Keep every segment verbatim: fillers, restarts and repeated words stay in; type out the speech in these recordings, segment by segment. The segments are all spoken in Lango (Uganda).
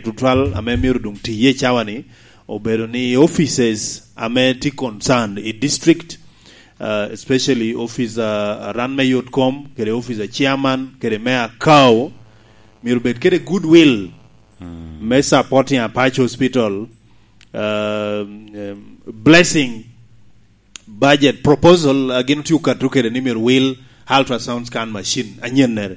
tutwal ame myero doŋ tiye cawa ni, obedo ni offices ame tye concerned i district, uh, especially office, uh, ran me yot kom, kede office a chairman, kede me akao, myero bed kede goodwill me supporting Apac Hospital, uh, um, blessing budget proposal, uh, gin otye okato kede ni myero wil ultrasound scan machine anyennere.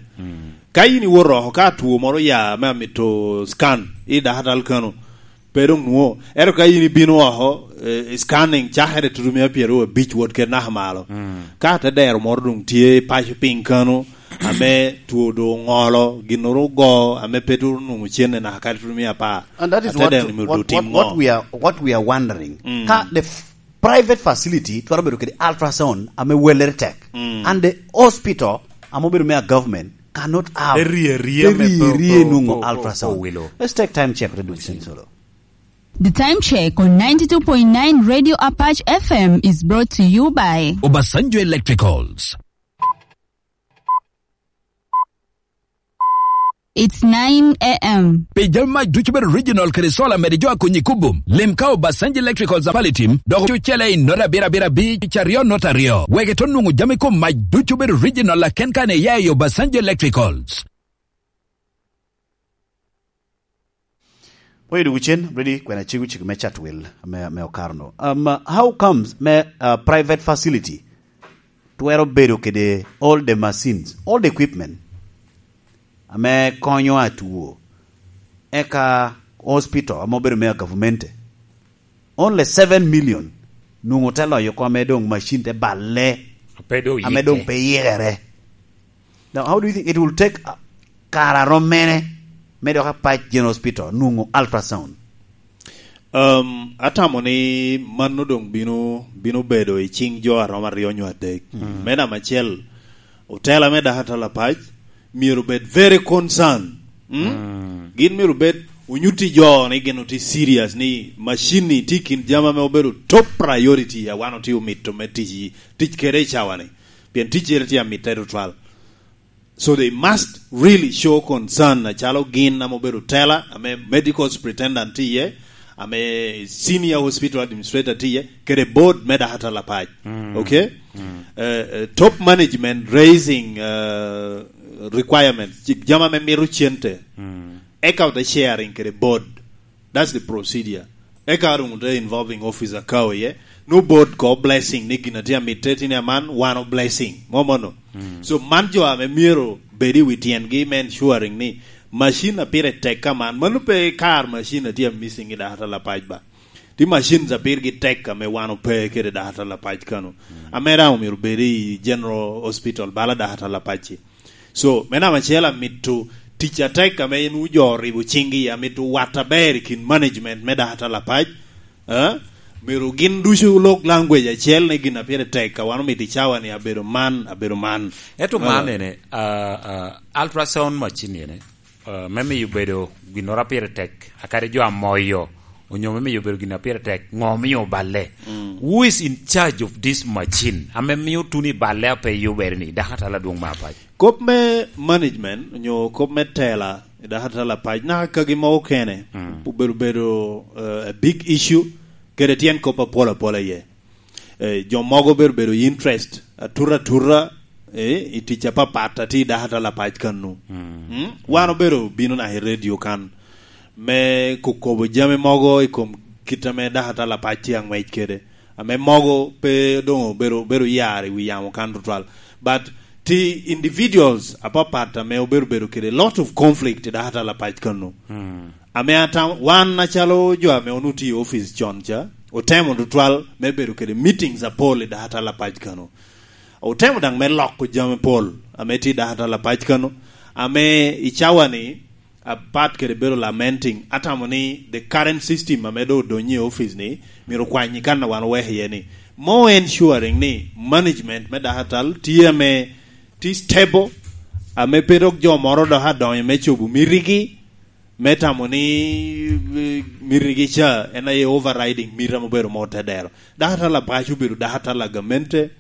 Ka in iwoto oko, ka two moro oya me amito scan i dakatal kano, pe doŋ nwo. Ento ka in ibino oko, eh, scanning cakere tutu mia pyeraryo abic wot kede naka malo. Ka te dero moro doŋ tye i paco piny kano, ame two doŋ oŋolo, ginnoro ogo, ame pe turo nwoŋo cenne naka kadi tutu mia apar. And that is Ate what, dero ni myero what, doŋ tim what, what ŋo? we are, what we are wondering. Ka the f-, private facility twero bedo kede ultrasound ame wellere tek. And the hospital ame obedo me a government cannot have Te rie rie te me rie po-, rie po-, nwoŋo po-, po-, ultrasound. Owilo. Let's take time check to do this in solo. The time check on ninety-two point nine Radio Apache F M is brought to you by Obasanjo Electricals. It's nine a m. Pi jami mac ducu bedo original kede solar mede jo a konyi kubo. Lim ka Obasanjo Electricals a Palitim, dok cucele i not abiro abiro abic, aryo not aryo. Wek ito nwoŋo jami kom mac ducu bedo original aken kan iya i Obasanjo Electricals. Pwony dwogo cen, ready, kwena cego cego me cat wil me, me okaro no. Um, how comes me, uh, private facility twero bedo kede all the machines, all the equipment ame konyo atwo, eka hospital ame obedo me a government, only seven million nwoŋo te loyo oko ame doŋ machine te balle, Ape doŋ ame doŋ yike. Pe yikere. Now, how do you think it will take, uh, kare arom mene me dok Apac General Hospital nwoŋo ultrasound? Um, atamo ni mano doŋ bino, bino bedo i ciŋ jo aromo aryo nyo adek. Mm. Me namba acel, otela me dakatal Apac myero bed very concerned. Mm? Mm. Gin myero bed onyutti jo ni gin oti serious ni machine ni tye kin jama me obedo top priority a wan oti omito me tic, tic kede i cawa ni. Pien ticcere tye amitte tutwal. So they must really show concern, acalo gin ame obedo tela, ame medical superintendent tye iye, ame senior hospital administrator tye iye, kede board me dakatal Apac. Mm. Okay? Mm. Eh, eh, top management raising, eh, requirements, ci-, jama me mito cente. Mm. Eka ote sharing kede board. That's the procedure. Eka doŋ te involving officer ka oye. No board ko blessing ni gin a tye amitte tini aman, wan o blessing. Mo mono. Mm. So man jo ame myero bed i wi tyengi me ensuring ni machine a pire tek ka man. Mano pe kar machine a tye missing i dakatal Apac ba. Ti machines a pirgi tek ame wan ope kede dakatal Apac kano. Mm. Ame daŋ omyero bed i General Hospital bala dakatal Apac-ci. So, me namba acel amito tic atek ame en wu jo oribo ciŋgi, amito wat aber i kin management me dakatal Apac, eh? Myero gin ducu olok language acel ni gin a pire tek, a wan omito i cawa ni abedo man, abedo man. Ento man Eh. ene, ah, ah, ultrasound machine ene, ah, me miyo bedo ginnoro a pire tek, akadi jo a moyo, onyo me miyo bedo gin a pire tek, ŋo omio oballe? Mm. Who is in charge of this machine? Ame mio tuno i balle a pe yubere ni, dakatal adwoŋ me Apac? Kop me management, onyo kop me tela, i dakatal Apac, naka kagi mogo kene, Mm. obedo, bedo, eh, a big issue, kede tyen kop apol apol aye. Eh, jo mogo obedo, bedo i interest, atuta atuta, eh, i tic apapat a tye i dakatal Apac kano. Mm. Mm? Wan obedo bino naka i radio kan, me kokobo jami mogo i kom kit ame dakatal Apac tye aŋwec kede. Ame mogo pe doŋ obedo, obedo yar i wi yamo kan tutwal. But ti individuals apapat ame obedo, bedo kede lot of conflict i dakatal Apac kano. Mm. Ame atam-, wan acalo jo ame onwoŋo tye i office con ca, otemo tutwal me bedo kede meetings apol i dakatal Apac kano. Otemo daŋ me loko jami pol ame tye i dakatal Apac kano, ame i cawa ni, apat kede bedo lamenting, atamo ni the current system ame doŋ odonyo i office ni, myero okwany i kan a wan oweko iye ni, more ensuring ni management me dakatal tye ame tye stable, ame pe dok jo moro dok adonyo me cobo mitigi, me tamo ni, eh, mitigi ca en aye overriding mito ame obedo mo te dero. Dakatal Apac obedo dakatal a gamente,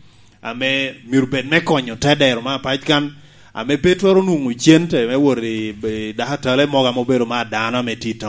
ame myero bed me konyo te dero me Apac kan, ame pe twero nwoŋo cente me wot i, i dakatale mogo ame obedo ma dano ame tye i town.